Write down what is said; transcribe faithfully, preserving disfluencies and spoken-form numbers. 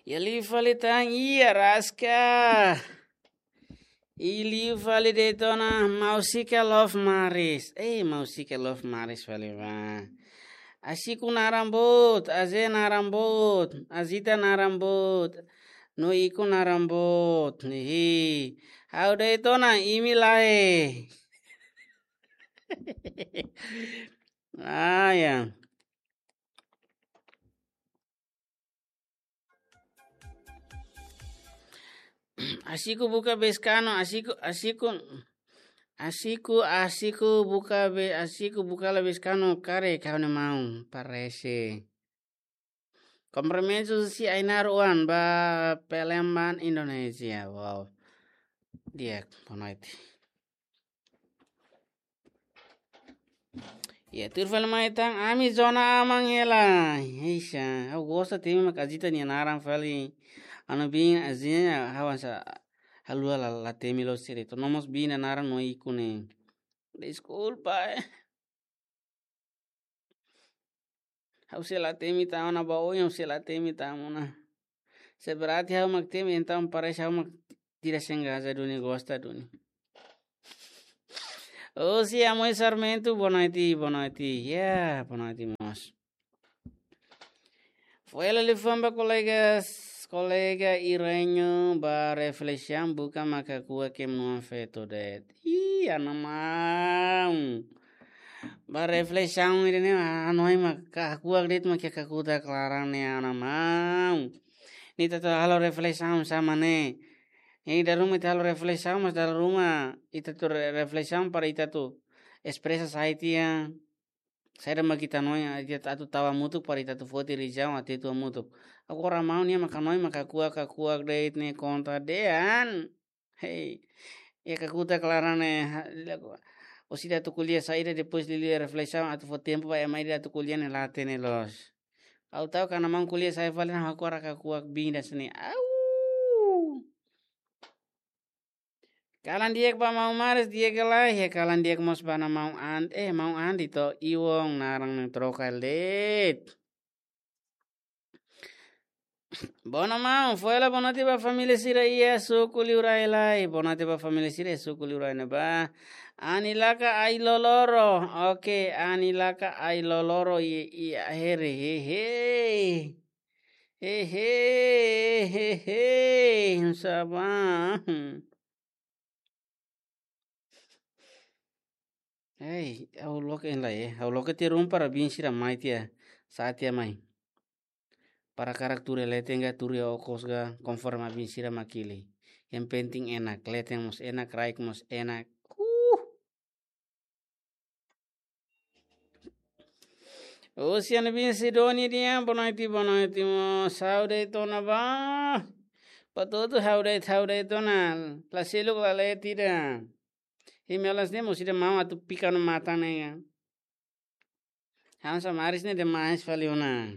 Iha liu fali tan, iha raska. Iha liu fali de'it ona, Mausika Love Maris. Eh, Mausika Love Maris fali ba. Asiku naran boot, Aze naran boot, Azita naran boot, no Iku naran boot. Hihi. Ha'u de'it ona, imi lae. Ah, ya. Asiku buka beskano, asiku, asiku, asiku, asiku buka be, asiku buka la beskano kare kau ne mau, parese. Kompromisu si Ainar Oan ba Palembang, Indonesia. Wow. Di'ak, boa noite. Ya, tuir fali mai tan, ami zona aman hela. Eixa, ha'u gosta temi mak Azita nia naran fali. Anu bin Azita, ha'u hanesan haluha la, la temi loos sira. To'o nomós bin nia naran no Iku ne'e. Deskulpa, eh. Ha'u sei la temi tan ona ba oin, ha'u sei la temi tan ona. Se berarti ha'u mak temi, entaun parese ha'u mak tidak sengaja duni, gosta duni. Oh, si Amoy Sarmento, boa noite, boa noite. Ya, boa noite, mós. Foin hela liafuan ba kolega, kolega Irenyo ba reflesaun buka maka kua ke menua feto de'it. Ih, ana maun. Ba reflesaun ida-ne'e, hanoin mak kakuak de'it mak kakutak laran ne'e, ana maun. Ne'e ita atu halo reflesaun sá mak ne'e. Ne'e dala ruma ita halo reflesaun, mas dala ruma ita atu re-, reflesaun para ita atu espresa saida tiha. Saida mak ita hanoin, ita atu tau hamutuk para ita atu foti rizaun atu ita hamutuk. Agora maun nian mak hanoin mak kakuak, kakuak de'it ne'e konta dehan. Hei. Iha kakutak laran ne'e, ha, lago. Orsida atu ko'alia saida, depois liuliu reflesaun atu fó tempu ba ema ida atu ko'alia ne'e la hatene loos. Ha'u ta'uk karik maun ko'alia saida fali, ha'u agora kakuak bin ida hanesan ne'e. Au! Kalan di'ak ba maun Maris, di'ak ka lae, iha kalan di'ak mós ba maun An-, eh, maun Andi to, Iwong naran ne'e troka de'it. Boa noite maun, foin hela boa noite ba família sira iha suku liurai lai. Boa noite ba família sira iha suku liurai ne'ebá. Ani laka ai loloro. Oke, Ani laka ai loloro i, i ahere. Hehe. Hehe, hehe. Sá ba. Ei, ha'u loke en lai, eh. Ha'u loke tiha ruma para bin sira mai tiha, sa'e tiha mai. Para hakarak tuur iha leten ka tuur iha okos ka, konforme bin sira mak hili. Yang penting enak, leten mós enak, raik mós enak. Uh. Ocean bin Sidoni dia, boa noite, boa noite, mós. Ha'u de'it ona ba. Patutu ha'u de'it, ha'u de'it ona. La seluk la leten ida. Imi olas ne'e mós ida mau atu pika no matan ne'e. Hanesan Maris ne'e demais fali ona.